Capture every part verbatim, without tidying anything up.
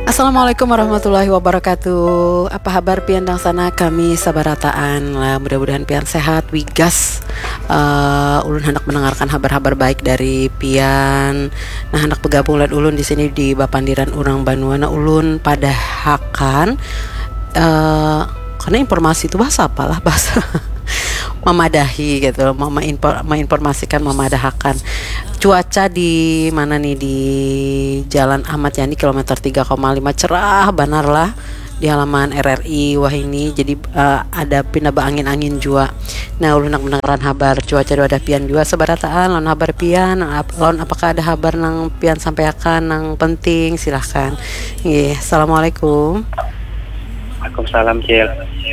Assalamualaikum warahmatullahi wabarakatuh. Apa habar pian dang sana? Kami sabarataan lah. Mudah-mudahan pian sehat, wigas. Eh, ulun hendak mendengarkan habar-habar baik dari pian. Nah, hendak bergabung lan ulun di sini di bapandiran urang banua. Nah, ulun padahakan eh karena informasi itu bahasa apalah, bahasa memadahi gitu, mama menginformasikan, memadahakan cuaca di mana nih, di Jalan Ahmad Yani kilometer tiga koma lima, cerah banar lah di halaman R R I wah ini. Jadi uh, ada pina angin-angin jua. Nah, ulun nak mendengaran habar cuaca dua ada pian jua sebarataan lawan habar pian, lawan apakah ada habar nang pian sampaikan nang penting, silahkan. Nggih, assalamualaikum. Waalaikumsalam, Cil.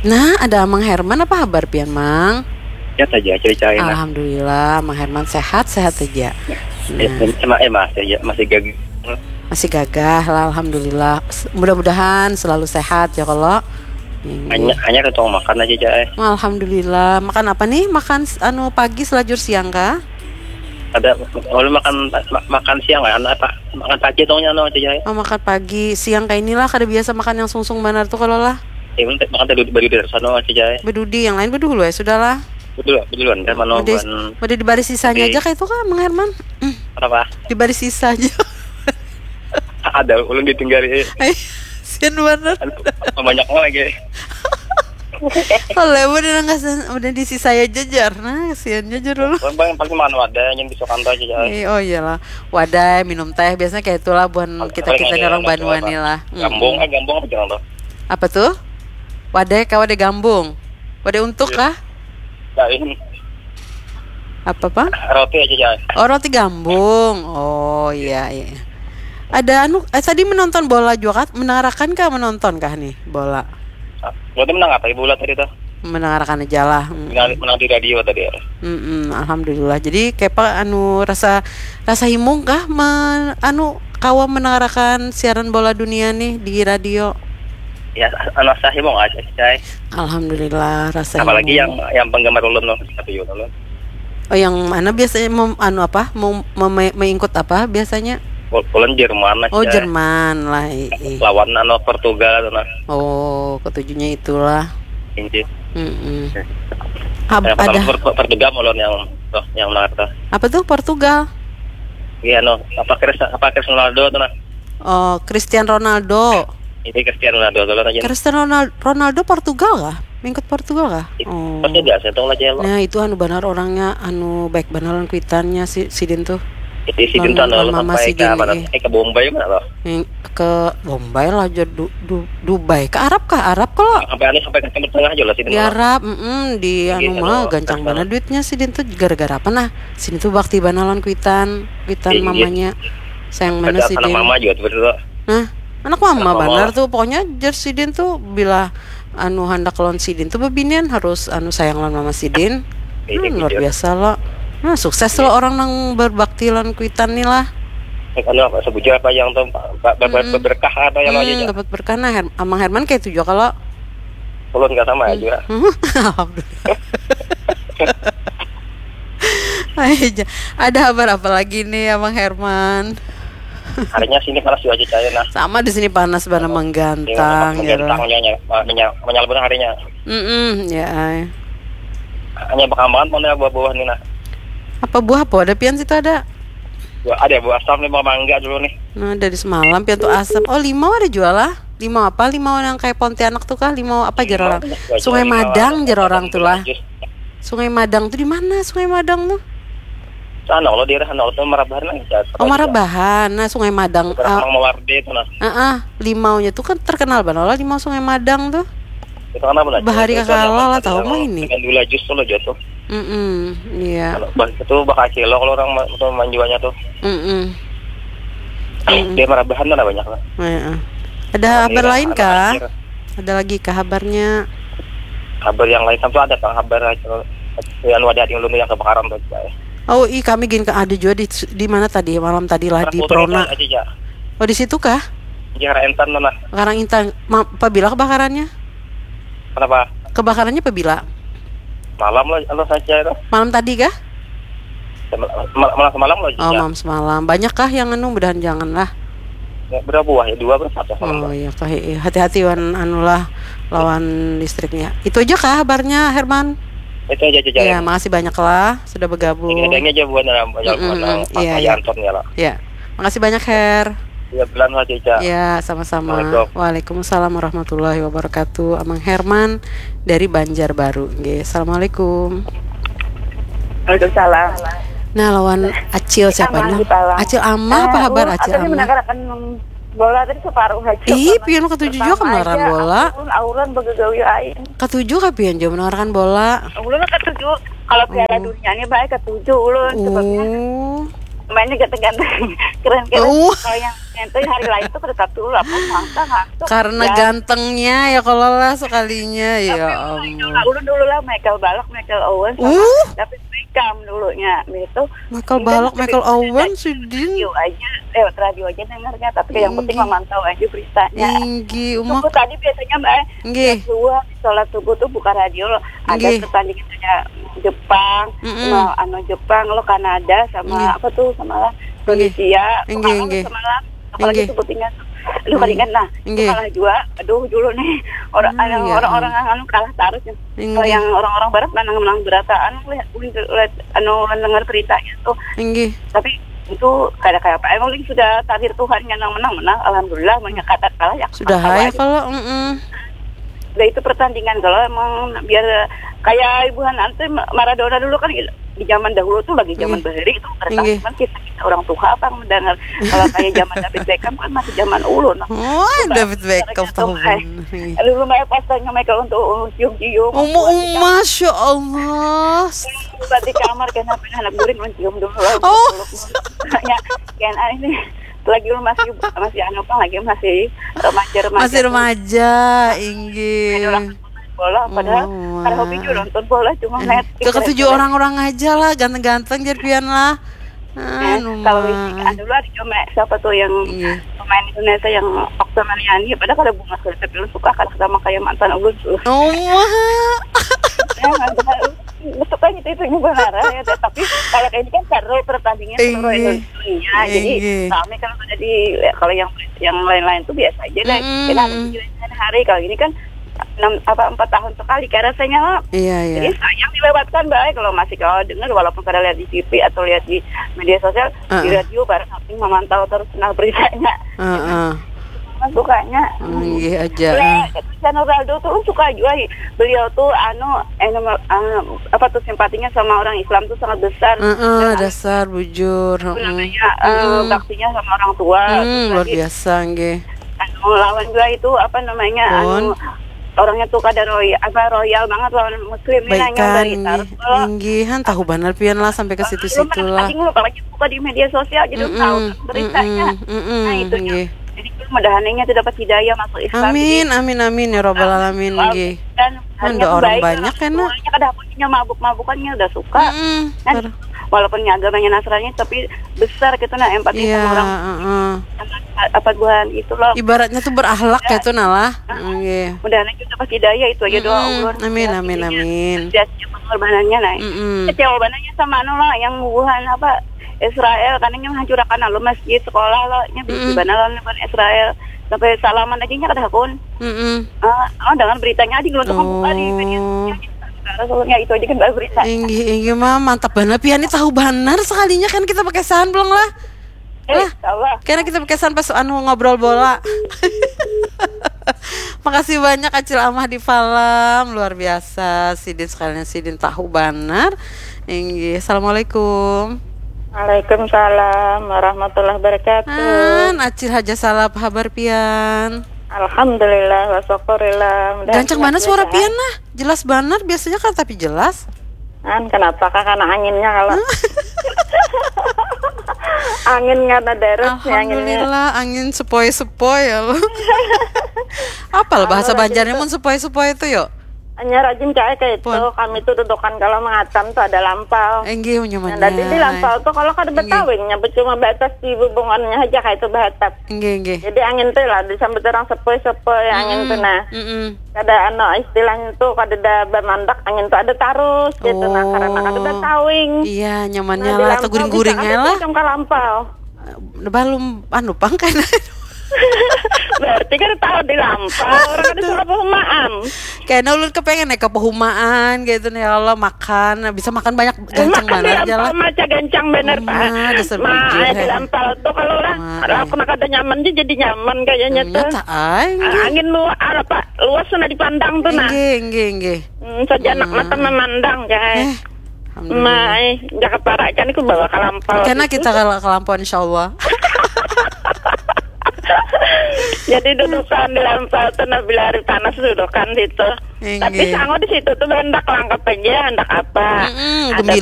Nah, ada Amang Herman, apa habar pian, Mang? Ya saja, ceritain. Alhamdulillah, Mang Herman sehat, sehat saja. Nah. Eh, masih, ya, masih gagah. Masih gagah lah, alhamdulillah. Mudah-mudahan selalu sehat ya kalau. Hanya hanya ketong makan aja, Cai. Alhamdulillah. Makan apa nih? Makan anu pagi selajur siang kah? Ada, kalau makan makan siang kan apa? Makan pagi tongnya no aja, Cai. Oh, makan pagi, siang kayak inilah kada biasa makan yang sungsung banar tuh kalau lah. Ya, makan tadi berdiri sana aja, Cai. Bedudi, yang lain bedulu ya sudahlah. Betul, betul kan mana. Udah di baris sisanya aja kayak itu kan, Mang Herman. Kenapa? Di baris sisa aja. Ada ulun ditinggali. Sian banget. Banyak lagi. Kalau udah nggak udah di sisa aja jar, nah kasihan aja dulu. Bang, paling mana ada yang bisa kantor aja. Oh iyalah, wadah minum teh biasanya kayak itulah buat kita kita orang banua nih lah. Gambung, eh gambung apa jangan tuh? Apa tuh? Wadah kau ada gambung, wadah untuk kah? Lain. Apa pak? Roti aja jangan. Oh, roti gambung. Oh iya iya. Ada anu eh, tadi menonton bola juga kah? Mendengarkan kah, menonton kah nih bola? Berarti menang apa ibu tadi tuh? Mendengarkan aja lah. Menang, menang di radio tadi ya. Mm-mm, alhamdulillah. Jadi kepa anu rasa rasa himung kah men, anu kawa mendengarkan siaran bola dunia nih di radio? Ya, anu rasa himung aja, Cai. Alhamdulillah rasa Apalagi himung. yang yang penggemar ulun loh, tapi ulun. Oh, yang mana biasanya mem, anu apa? Mem, mem, mengikut apa biasanya? Ulun Jerman lah. Oh, Jerman lah. Iya. Lawan anu Portugal tuh nah. Oh, ketujuhnya itulah. Inggris. Mm-mm. Hab, yang ada Portugal ulun yang tuh, yang menar tuh. Apa tuh Portugal? Iya no, apa Chris apa Chris Ronaldo tuh nah. Oh, Cristiano Ronaldo. Ini Cristiano Ronaldo tuh aja. Cristiano Ronaldo, Ronaldo Portugal kah? Mengikut Portugal kah? Oh. Pasti biasa tuh aja lo. Nah, itu anu benar orangnya anu baik benar lawan kuitannya si sidin tuh. Jadi sidin tuh anu mama sidin eh ke Bombay mana lo? Ke Bombay lah aja du, du, Dubai ke Arab kah? Arab kalau sampai anu sampai ke Timur Tengah aja lah sidin. Di Arab, mm, di anu mah gancang banget duitnya sidin tuh gara-gara apa nah? Sidin tuh bakti banget lawan kuitan, kuitan mamanya. Sayang mana sidin. Anak mama juga tuh. Nah, anak mama benar tuh pokoknya jer sidin tuh bila anu handak lawan sidin tuh bebinian harus anu sayang lawan mama sidin. Hmm, luar biasa lo. Nah, sukses lo orang nang berbakti lawan kuitan nih lah. Anu apa sebujur apa yang tuh berkah apa yang hmm, aja. Dapat berkah nah Her Amang Herman kayak itu juga kalau ulun nggak sama aja. Alhamdulillah. Aja. Ada kabar apa lagi nih Amang Herman? Harinya sini panas juga aja cahaya nah. Sama di sini panas bana menggantang ya. Menggantangnya menyal benar harinya. Mm-mm, ya ay. Hanya perkembangan mana buah-buah nih nah. Apa buah apa? Ada pian situ ada? Buah, ada buah asam nih, buah mangga dulu nih. Nah, dari semalam pian tuh asam. Oh, limau ada jual lah. Limau apa? Limau yang kayak Pontianak tuh kah? Limau apa jer orang? Sungai Madang jer orang tuh lah. Sungai Madang tuh di mana? Sungai Madang tuh? Sana lo daerah sana lo tuh Marabahan lah. Oh, Marabahan. Nah, Sungai Madang. Daerah Mang Mawardi itu nah. Heeh, limaunya tuh kan terkenal banget lah limau Sungai Madang tuh. Itu kan apa nah? Bahari kakala lah tahu mah ini. Dengan dula jus tuh lo jatuh. Mm-mm, iya. Itu bakal kilo kalau orang tuh manjualnya tuh. Mm-mm. Dia Marabahan mana banyak lah. Heeh. Ada kabar lain kah? Ada lagi kah kabarnya? Kabar yang lain sampai ada kang kabar yang ada yang dulu yang kebakaran tuh. Oh, ih kami gini ada juga di di mana tadi malam tadi lah di Prona. Oh, di situ kah? Di Karang Intan mana? Karang Intan. Apabila kebakarannya? Kenapa? Kebakarannya apabila? Malam lah, anu saja itu. Malam tadi kah? Malam semalam lah. Oh, malam semalam. Banyak kah yang anu mudahan jangan lah. Ya, berapa buah ya? Dua berapa satu kalau Oh iya kah iya. Hati-hati wan anulah lawan listriknya. Itu aja kah kabarnya Herman? Itu aja aja. Ya, makasih banyak lah sudah bergabung. Ini adanya aja buat dalam banyak Mm-mm, orang iya, pakai iya. Anton ya lah. Ya, makasih banyak Her. Ya, bilang aja. Ya, sama-sama. Assalamualaikum. Waalaikumsalam warahmatullahi wabarakatuh. Amang Herman dari Banjarbaru. Nggih, assalamualaikum. Waalaikumsalam. Nah, lawan Acil siapa Amah nah? di Palang. Acil Amah apa Ah, kabar ulun Acil tadi Amah? Menangkarakan bola tadi separuh aja. Ih, Karena pian katuju jua pertama kedengaran aja, bola. Ulun auran begagawi aing. Katuju kah pian jua mendengarkan bola? Ulun katuju. Kalau Piala Oh. Dunia ini baik katuju ulun sebabnya Oh. mainnya ganteng-ganteng, keren-keren. Oh. Kalau yang itu hari lain tuh kereta tuh apa mangsa ngantuk. Karena Ya, gantengnya ya kalau lah sekalinya ya Nah, ampun. ulun dulu lah Michael Balak, Michael Owen sama Uh. David Beckham dulunya gitu. Michael Ini kan Balak, sering Michael cerita Owen, di sidin. radio aja, lewat radio aja dengarnya, tapi yang penting Inggih. Memantau aja beritanya. Inggih, umak. Subuh tadi biasanya mbak, Inggih. Subuh habis sholat subuh tuh buka radio loh, ada Inggih. Pertandingan kayak Jepang, Mm-mm. nah, anu Jepang lo, Kanada sama Inggih. Apa tuh sama Inggih. Indonesia, Inggih, Pengalam inggih. sama lah, apalagi Inggih. Sebutingan, aduh Inggih. Kalingan nah, Inggih. Kalah juga, aduh dulu nih orang Ah, ya orang-orang anu kalah terus ya. Kalau Inggih. Yang orang-orang barat menang-menang berataan, lihat lihat anu dengar beritanya tuh, Inggih. Tapi itu kada kayak apa, emang ini sudah takdir Tuhan yang menang menang, alhamdulillah, banyak kata kalah ya. Sudah Apa ya aja. Kalau mm-mm. Udah itu pertandingan kalau emang biar kayak ibuhan nanti Maradona dulu kan di zaman dahulu tuh lagi zaman Inggih. Bahari itu Inggih. Kan kita, kita orang tua apa mendengar kalau kayak zaman David Beckham kan masih zaman ulun. Wah, David Beckham tahu Lu lumayan pas tanya Michael untuk cium-cium. Uma, uma, masya Allah. Buat di kamar kena anak guring lu cium dulu lah. Oh. Ya, kena ini lagi lu masih masih anu apa lagi masih remaja remaja. Masih remaja, inggih. Bola padahal Oh, kada hobi juga nonton bola cuma Eh, net. Katuju orang-orang aja lah, ganteng-ganteng jar pian lah. Eh, Anu kalau mah. Anu lah ada cuma siapa tuh yang Iya. Pemain Indonesia yang Okta Mariani padahal kada bungas kada tapi ulun suka kada sama kayak mantan ulun tuh. Oh, mah. Ya, padahal suka gitu itu ini benar ya tapi kalau kayak ini kan seru pertandingan seluruh Inggih. Indonesia jadi Inggih. Kami kalau ada di kalau yang yang lain-lain tuh biasa aja deh Mm-mm. Kita ada di hari kalau ini kan enam apa empat tahun sekali kayak rasanya lah. Iya, Jadi iya. Sayang dilewatkan baik kalau masih kalau dengar walaupun kada lihat di T V atau lihat di media sosial di Heeh. Radio bareng tapi memantau terus nah beritanya. Heeh. Mas sukanya. Inggih aja. Leh, Cristiano Ronaldo tuh ulun suka juga. Beliau tuh anu eh, nama- eh, apa tuh simpatinya sama orang Islam tuh sangat besar. Heeh, Dan dasar bujur. apa Heeh. namanya eh, Mm-mm. Baktinya sama orang tua. Hmm, Terus luar lagi biasa nggih. Anu lawan juga itu apa namanya Pun. Anu orangnya tuh kada royal apa royal banget lawan muslim ini Baik nanya dari kan tarus nggih. Inggihan tahu benar pian lah sampai ke situ-situ lah. Anjing lu apalagi buka di media sosial jadi Mm-mm, tahu beritanya. mm-mm, mm-mm, Nah itu nggih. Jadi mudahan ini tidak dapat hidayah masuk Islam. Amin, amin, amin ya robbal alamin nggih. Dan Kan ada orang banyak kan, nah. Semuanya kada punya mabuk-mabukannya udah suka. Mm-mm, Kan ter- walaupun agamanya Nasrani tapi besar gitu nah empati Iya, sama orang heeh. apa buhan itu loh. Ibaratnya tuh berakhlak gitu nah lah. Nggih. Mudahan aja dapat hidayah itu aja doa Mm-mm. ulun. Amin, Ya, amin, intinya, amin. Sia-sia pengorbanannya nah. Mm-mm. Kecewa banget sama anu lah yang buhan apa Israel karena yang hancurakan lalu masjid sekolah lo nya Mm-mm. bisi bana lawan buhan Israel sampai salaman aja nya kada hakun. Mm-mm. Ah, oh dengan beritanya aja belum Oh. buka di media sosial. Rasulnya itu aja kan baru berita. Inggih, inggih mah mantap banget pian nih tahu banar sekalinya kan kita pakai sandblong lah. Eh, Allah. Karena kita pakai sandblong pas anu ngobrol bola. Makasih banyak Acil Amah di Falam, luar biasa. Sidin sekalian sidin tahu banar. Inggih, assalamualaikum. Waalaikumsalam warahmatullahi wabarakatuh. An, Acil Haja Salap habar pian. Alhamdulillah wa syukurillah. Mudah Gancang mana suara pian nah? Jelas banar biasanya kan tapi jelas. An kenapa kah karena anginnya kalau angin karena deres ya anginnya. Alhamdulillah angin sepoi-sepoi ya lo. Apal bahasa Banjarnya mun sepoi-sepoi itu yuk. Hanya rajin cai kayak itu. Kami tuh dudukan kalau mengatam tuh ada lampau. Enggih nyaman. Nah, jadi di lampau tuh kalau kada betawingnya cuma batas di bubungannya aja kayak itu bahatap. Enggih enggih. Jadi angin tuh lah disambut orang sepoi-sepoi angin tuh nah. Mm-mm. Kada anu istilahnya tuh kada ada bamandak angin tuh ada tarus gitu nah karena kada ada tawing. Iya nyamannya lah atau guring-guringnya lah. Macam ka lampau. Balum anu pang kan. Berarti kada tahu di Lampau, orang kada suka pehumaan. Kayaknya ulun kepengen naik ke pehumaan gitu nih, ya Allah, makan, bisa makan banyak, gancang Makan di banget aja lah. Lampau maca gancang bener, Pak. Uma, dasar Ma, bujur, di heh. Lampau tuh kalau orang Ma, kalau kada nyaman aja jadi nyaman kayaknya tuh. Nyata, ay. Ah, angin luar apa, luas sudah dipandang tuh, nah. Inggih, inggih, inggih. Hmm, saja anak mata memandang, guys. Eh, alhamdulillah. Mai, jaga para ikan itu bawa ke Lampau. Karena Itu kita kalau ke Lampau, insya Allah. Jadi dudukan di Lampau tuh, nah, bila hari panas dudukan situ. Inggih. Tapi sango di situ tuh hendak langkap aja, hendak apa. Mm-mm, Ada gembili